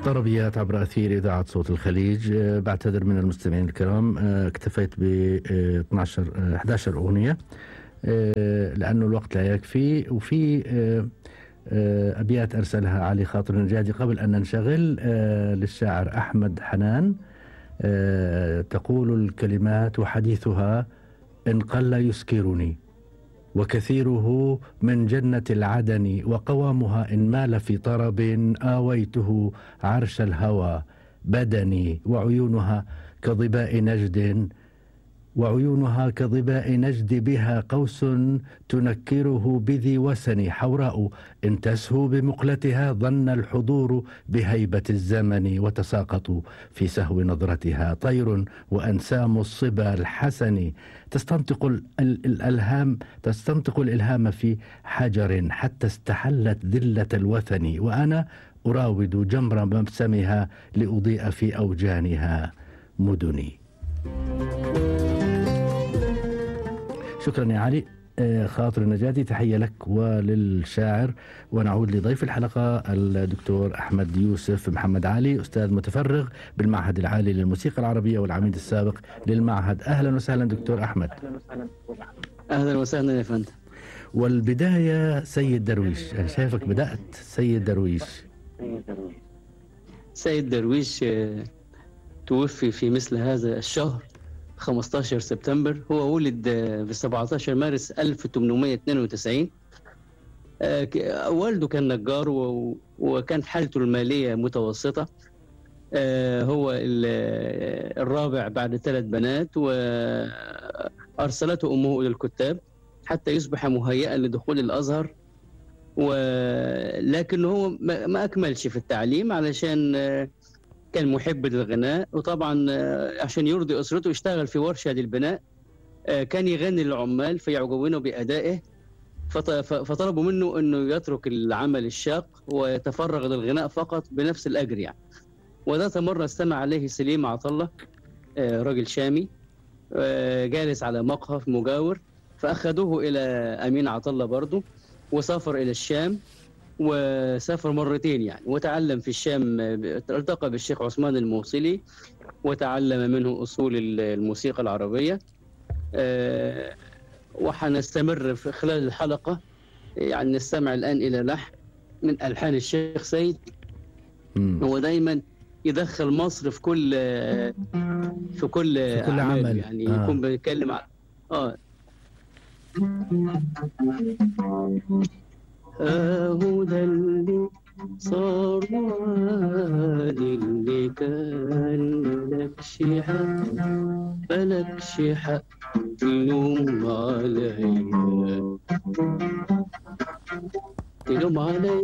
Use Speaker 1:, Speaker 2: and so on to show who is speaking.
Speaker 1: طربيات عبر أثير إذاعة صوت الخليج. بعتذر من المستمعين الكرام، اكتفيت ب 11 أغنية لأنه الوقت لا يكفي. وفي أبيات أرسلها علي خاطر النجادي قبل أن ننشغل للشاعر أحمد حنان. تقول الكلمات وحديثها: إن قل يسكرني وكثيره من جنة العدن، وقوامها إن مال في طرب آويته عرش الهوى بدني، وعيونها كظباء نجد بها قوس تنكره بذي وسن، حوراء إن تسهو بمقلتها ظن الحضور بهيبة الزمن، وتساقط في سهو نظرتها طير وأنسام الصبا الحسن، تستنطق الإلهام في حجر حتى استحلت ذلة الوثن، وأنا أراود جمر مبسمها لأضيء في أوجانها مدني. شكرا يا علي خاطر النجادي، تحية لك وللشاعر. ونعود لضيف الحلقة الدكتور أحمد يوسف محمد علي، أستاذ متفرغ بالمعهد العالي للموسيقى العربية والعميد السابق للمعهد. أهلا وسهلا دكتور أحمد.
Speaker 2: أهلا وسهلا يا فندم.
Speaker 1: والبداية سيد درويش، أنا شايفك بدأت سيد درويش.
Speaker 2: سيد درويش توفي في مثل هذا الشهر 15 سبتمبر. هو ولد في 17 مارس 1892. والده كان نجار وكان حالته المالية متوسطة. هو الرابع بعد 3 بنات، وأرسلته أمه إلى الكتاب حتى يصبح مهيئا لدخول الأزهر، ولكن هو ما أكملش في التعليم علشان كان محب للغناء، وطبعا عشان يرضي أسرته اشتغل في ورشة للبناء. كان يغني للعمال فيعجبونه بأدائه، فطلبوا منه أنه يترك العمل الشاق ويتفرغ للغناء فقط بنفس الأجر يعني. وذات مرة استمع عليه سليم عطلة، رجل شامي جالس على مقهى مجاور، فأخذوه إلى أمين عطلة برضه، وسافر إلى الشام، وسافر مرتين يعني، وتعلم في الشام. التقى بالشيخ عثمان الموصلي وتعلم منه أصول الموسيقى العربية. وحنستمر في خلال الحلقة يعني نستمع الآن إلى لحن من ألحان الشيخ سيد. هو دايما يدخل مصر في كل عمل يعني. يكون بيتكلم عن هو ده اللي صار وادي اللي كان ملكش حق تلوم عليا